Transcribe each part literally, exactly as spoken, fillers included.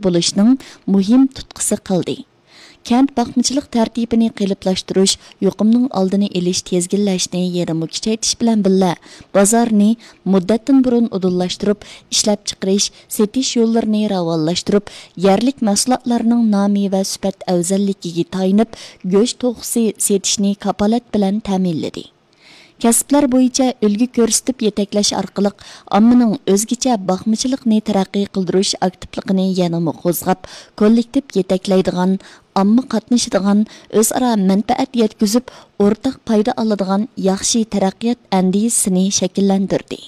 بولۇشنىڭ مۇھىم تۇتقىسى قىلدى. كەنت باقمىچىلىق تەرتىپىنى قېلىپلاشتۇرۇش، يۇقۇمنىڭ ئالدىنى ئېلىش، تىزگىنلەشنى يەنىمۇ كۈچەيتىش بىلەن بىللە، بازارنى مۇددەتتىن بۇرۇن ئۇدۇللاشتۇرۇپ، ئىشلەپچىقىرىش، سېتىش يوللىرىنى راۋانلاشتۇرۇپ، يەرلىك مەھسۇلاتلارنىڭ نامى ۋە سۈپەت ئەۋزەللىكىگە تايىنىپ، گۆش توخۇسى سېتىشنى كاپالەت بىلەن تەمىنلىدى. كەسىپلەر بويىچە ئۈلگە كۆرسىتىپ يېتەكلەش ئارقىلىق ئاممىنىڭ ئۆزگىچە باقمىچىلىقنى تەرەققىي قىلدۇرۇش ئاكتىپلىقىنى يەنىمۇ قوزغاپ، كوللېكتىپ يېتەكلەيدىغان، ئامما قاتنىشىدىغان، ئۆزئارا مەنپەئەت يەتكۈزۈپ، ئورتاق پايدا ئالىدىغان ياخشى تەرەققىيات ئەندىزىسىنى شەكىللەندۈردى.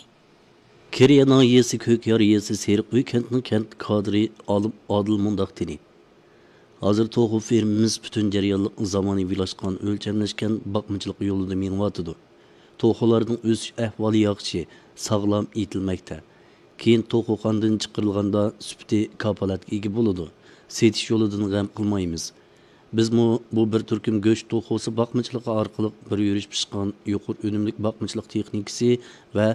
كېرىيە ناھىيەسى كۆكيار يېزىسى سېرىق ئۆي كەنتىنىڭ كەنت كادىرى ئالىم ئادىل مۇنداق دېدى. ھازىر توخۇ فېرمىمىز پۈتۈن جەريانلىق زامانىۋىلاشقان، ئۆلچەملەشكەن باقمىچىلىق يولىدا مېڭىۋاتىدۇ. توخۇلاردىن ئۆسۈش ئەھۋالى ياخشى، ساغلام ئېيتىلمەكتە. كېيىن توخۇخانىدىن چىقىرىلغاندا سۈپىتى كاپالەتكە ئىگە بولىدۇ. سېتىش يولىدىن غەم قىلمايمىز. بىزمۇ بۇ بىر تۈركۈم گۆش توخۇسى باقمىچىلىقى ئارقىلىق بىر يۈرۈش پىشقان يۇقىرى ئۈنۈملۈك باقمىچىلىق تېخنىكىسى ۋە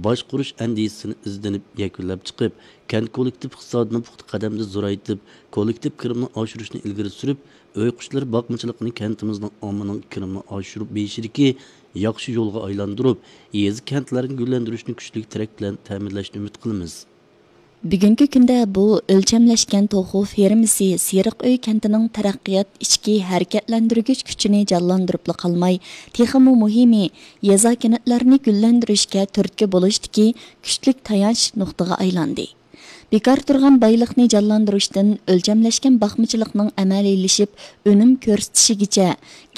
باشقۇرۇش ئەندىزىسىنى ئىزدىنىپ يەكۈنلەپ چىقىپ، كەنت كوللېكتىپ ئىقتىسادىنى پۇختا قەدەمدە زورايتىپ، كوللېكتىپ كىرىمنى ئاشۇرۇشنى ئىلگىرى سۈرۈپ، ئۆي قۇشلىرى باقمىچىلىقىنى كەنتىمىزنىڭ ئاممىنىڭ كىرىمىنى ئاشۇرۇپ بېرىشىدىكى ياخشى يولغا ئايلاندۇرۇپ، يېزا، كەنتلەرنى گۈللەندۈرۈشنى كۈچلۈك تىرەك بىلەن تەمىنلەشنى ئۈمىد قىلىمىز. بۈگۈنكى كۈندە بۇ ئۆلچەملەشكەن توخۇ فېرمىسى سېرىق ئۆي كەنتىنىڭ تەرەققىيات ئىچكى ھەرىكەتلەندۈرگۈچ كۈچىنى جانلاندۇرۇپلا قالماي، تېخىمۇ مۇھىمى، يېزا، كەنتلەرنى گۈللەندۈرۈشكە تۈرتكە بولۇشتىكى كۈچلۈك تايانچ نۇقتىغا ئايلاندى. بىكار تۇرغان بايلىقنى جانلاندۇرۇشتىن ئۆلچەملەشكەن باقمىچىلىقنىڭ ئەمەلىيلىشىپ ئۈنۈم كۆرسىتىشىگىچە،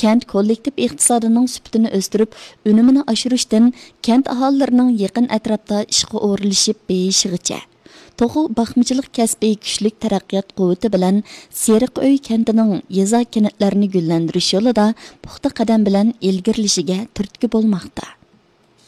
كەنت كوللېكتىپ ئىقتىسادىنىڭ سۈپىتىنى ئۆستۈرۈپ، ئۈنۈمىنى ئاشۇرۇشتىن كەنت ئاھالىلىرىنىڭ يېقىن ئەتراپتا ئىشقا ئورۇنلىشىپ بېيىشىغىچە، توخۇ باقمىچىلىق كەسپى كۈچلۈك تەرەققىيات قۇۋۋىتى بىلەن سېرىق ئۆي كەنتىنىڭ يېزا، كەنتلەرنى گۈللەندۈرۈش يولىدا پۇختا قەدەم بىلەن ئىلگىرىلىشىگە تۈرتكە بولماقتا.